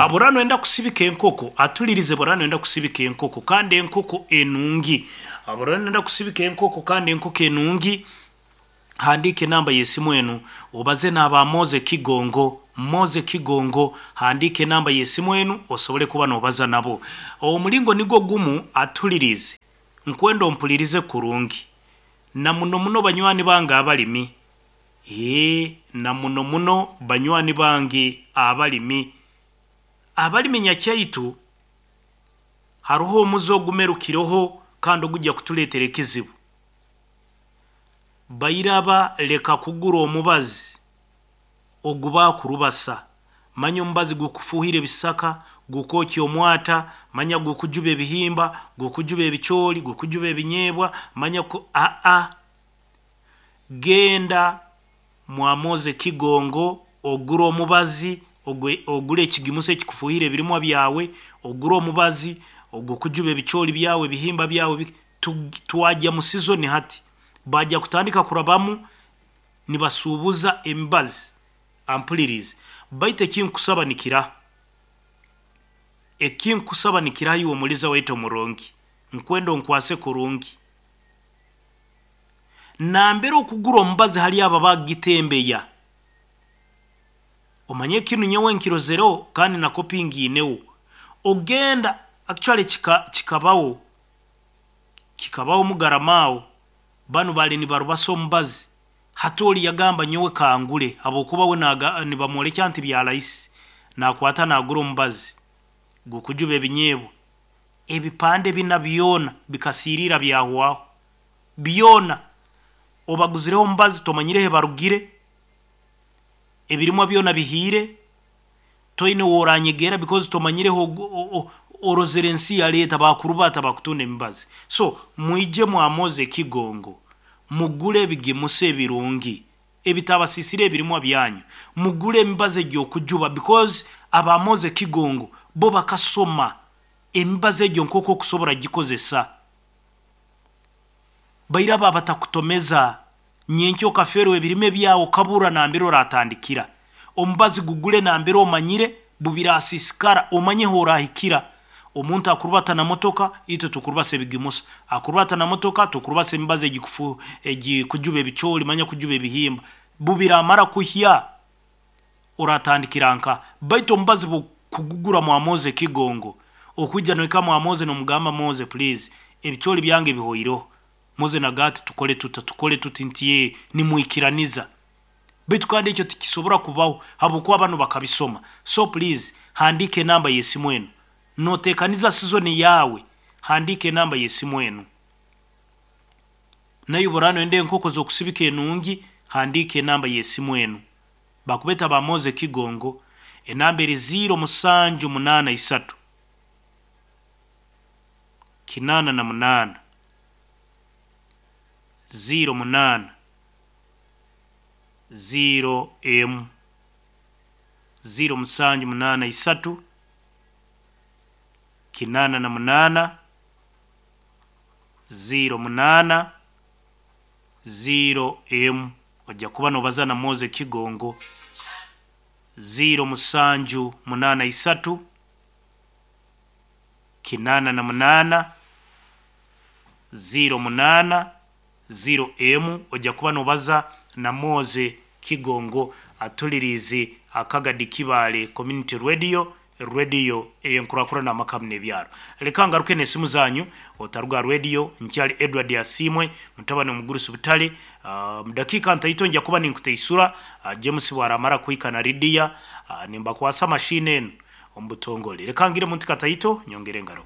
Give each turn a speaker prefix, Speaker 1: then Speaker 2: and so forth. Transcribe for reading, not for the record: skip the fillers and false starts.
Speaker 1: Bw'oraba noyenda kusibika enkoko, atulirize bw'oraba noyenda kusibika enkoko kandi enkoko enungi. Bw'oraba noyenda kusibika enkoko kandi enkoko enungi, handiika enamba y'esimu enu obaze n'aba Moze Kigongo. Moze Kigongo, handiika enamba y'esimu enu osobole kuba nobaza nabo. Omulingo nigwo gumu atulirize, nkwenda ompulirize kurungi. Na muno muno banywani bange abalimi. Eeh na muno muno banywani bange abalimi. Abalimi nyakyaitu haroho omuze ogumerukireho kandi ogujya kutuletera ekizibu. Bairaba leka kugura omubazi ogu bakurubasa. Manya omubazi gukufuhira ebisaka, gukwokya omwata, manya gukujuba ebihimba, gukujuba ebicooli, gukujuba ebinyeebwa, manya ku aa. Genda mwa Moze Kigongo ogure omubazi, ogure ekigimusa ekikufuhira ebirimwa byawe, ogure omubazi ogukujuba ebicooli byawe, ebihimba byawe. Twagya mu sizoni hati, baagya kutandika kurabamu nibasuubuza emibazi. Ampuliriize. Baitu eki nkusaba nikiraha? Eki nkusaba nikiraha iwe omuliza waitu omurungi? Nkwenda onkwase kurungi. Nambere okugura omubazi hali abo abakugitembeya. Omanye kinu nyowe nkirozereho kandi na kopi ngiineho. Ogenda, actually kikabaho, kikabaho Mugarama aho, banu baali nibarubasa omubazi, hati ori yagamba nyowe kangure habwokuba we nibamworekya nti bya rahisi, nakwata nagura omubazi gukujuba ebinyeebwa, ebipande bina byona bikasiiriira byahwaho. Byona obaguzireho omubazi tomanyire hebarugire, ebirimwa byona bihiire, toine ow'oranyegeera because tomanyire orozere ensi yaleeta bakurubata bakutunda emibazi. So mwije mwamoze ekigongo mugule ebigimusa ebirungi ebitabasisire ebirimwa byanyu, mugule emibazi egy'okujuba because abamoze ekigongo bo bakasoma emibazi egyo nk'oku okusobora gikozesa. Bairaba abatakutomeza nyenkya okafeerwa ebirime byawe okabura nambere oratandikira. Omubazi gugule nambere omanyire bubirasisikara omanye horahikira. Omuntu akurubata na motoka, itwe tukurubasa ebigimusa. Akurubata na motoka, tukurubasa emibazi egikujuba ebicooli manya kujuba ebihimba. Bubiramara kuhya oratandikira nkaha? Baitu omubazi bwokugugura mwa Moze Kigongo, okwija nohika mwa Moze nomugamba Moze please ebicooli byange bihoireho. Moze naga ati tukole tuta, tukole tuti nti ee nimwikiraniza. Baitu kandi ekyo tikisobora kubaho habwokuba banu bakabisoma. So please handiika enamba y'esimu enu. Notekaniza sizoni yaawe, handiika enamba y'esimu enu. Naiwe bworaba noyenda enkoko z'okusibika enungi, handiika enamba y'esimu enu. Bakubeta ba Moze Kigongo, enamba eri ziiro musanju munaana isatu, 88, 08, 0 emu, 0783, 88, 08, 0 emu. Oja kuba nobaza na Moze Kigongo, 0783, 88, 08, 0 emu. Oja kuba nobaza na Moze Kigongo atuliriize Akagadi Kibaale Community Radio, Radio ey'enkurakurana amaka hamu n'ebyaro. Leka ngaruke n'esimu zanyu, otaruga aha radio, nkyali Edward Asiimwe, mutabani omugurusi Butare. Omu dakiika ntaito nja kuba ninkuteisura, James bwaramara kuhika na Lydia, nimbakwasa machine enu omu butongore. Leka ngire muntu kataito, nyongere ngaruke.